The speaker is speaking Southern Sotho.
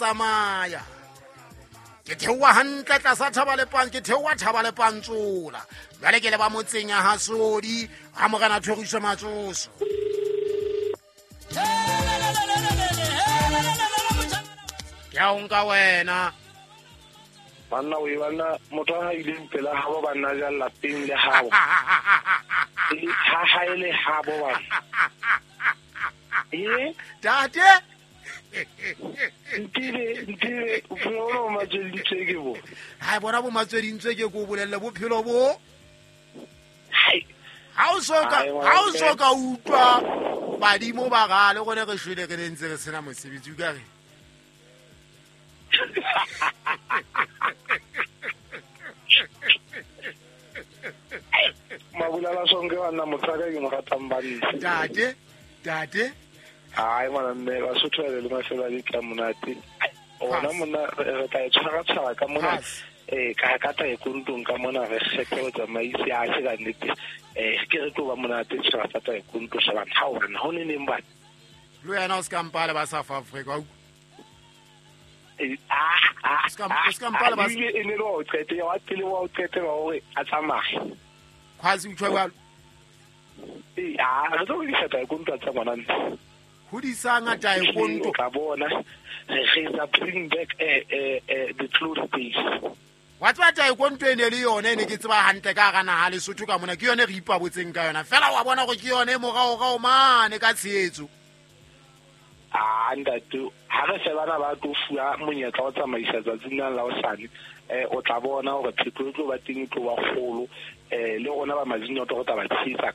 Tsamaya ke theoha hantle tlasa thaba le ke theoha thaba le pantsola. Jwale ke le ba motseng ya hasodi ha morena thoriso matsoso. Ke a o nka wena. Banna o banna motho a ileng pela habo banna ja lapeng le habo. Ha hae le habo bana. Eh tate ntile bophelo bo matswedintswe ke bo. Ha bona bo matswedintswe ke ko bolelle bophelo bo. Ha o so ka utlwa badimo ba gale gone re shwele re ntse re sena mosebetsi o ka re. Mabulala sonke banna motho ka ke mo ratang banna. Tate tate ai ngwana mme Basotho ba le mafelo a ditla monate. Ona mona re tla e tshwara ka mona ka ka taekwondo ka mona re kgethe go tsamaisi a se ka nnete ke re tlo ba monate tshwara sa taekwondo shebana ha ona ho ne neng bana. Le wena o ska mpale ba South Africa. Ska mpale ba e ne le o qete wa pele wa o qete wa hore a tsamaye. Khwazi utjho jwalo. Re tlo di taekwondo tsa ngwana ntse. Hodisang taekwondo ka bona re tla bring back the glory days. Wa tseba taekwondo e ne le yone ne ke tseba hantle ka hara naha Lesotho ka mona ke yone re ipabotseng ka yona fela wa bona gore ke yone moraorao mane ka tshehetso. Ntate ha re shebana ba tlo fuwa monyetla wa tsamaisa tsatsing la hosane o tla bona hore phetoho e tlo ba teng e tlo ba kgolo le rona ba Mazinyoto re tla ba tshehetsa